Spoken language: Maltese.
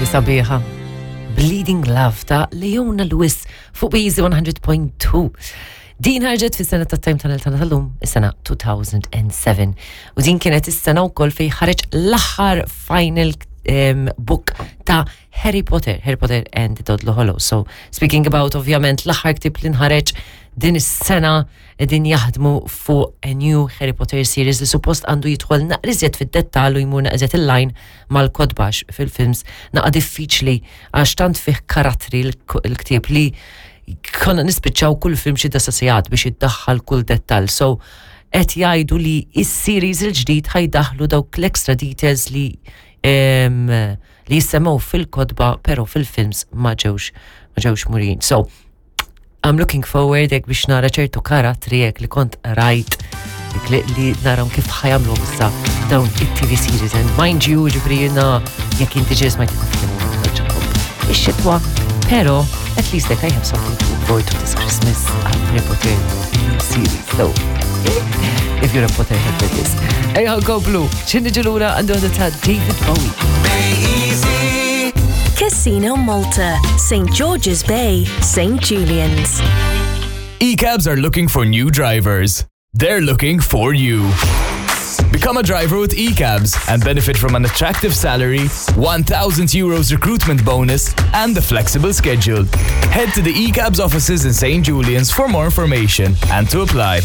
Sabiħa. Bleeding Love ta' Leona Lewis fuq Easy 100.2. Din ħarġet fis-sena ta' Time Tunnel tagħna tal-lum, is-sena 2007. U din kienet is-sena wkoll fejn ħareġ l-aħħar final book ta' Harry Potter, Harry Potter and the Deathly Hallows. So, speaking about ovvjament l-aħħar ktieb li nħareġ din is-sena, din jaħdmu fuq a new Harry Potter series li suppost għandu jidħol naqra iżjed fid-dettall u jmur naqra iżjed il-line mal-kotba fil-films naqa diffiċli għax tant fih karattri l-ktieb li konna nispiċċaw kull film xi 9 sigħat biex iddaħħal kull dettall. So, qed jgħidu li is-series il-ġdid ħa jdaħħlu dawk l-extra details li jissemmew fil-kotba pero fil-films ma ġewx murin. So, I'm looking forward jekk biex nara ċertu karattri jekk li kont rajt jekk li naram kif ħa jagħmlu issa dawn it-TV series, and mind you, ġifieri jiena jekk inti ġes ma ix-xitwa, pero at least like I have something to look forward to this Christmas, Harry Potter new series. So if you're a Potterhead with this. Ejja nkomplu, x'ħin niġu lura għandu ta' David Bowie. Casino Malta, St. George's Bay, St. Julian's. E-cabs are looking for new drivers. They're looking for you. Become a driver with eCabs and benefit from an attractive salary, €1,000 recruitment bonus, and a flexible schedule. Head to the eCabs offices in St. Julian's for more information and to apply.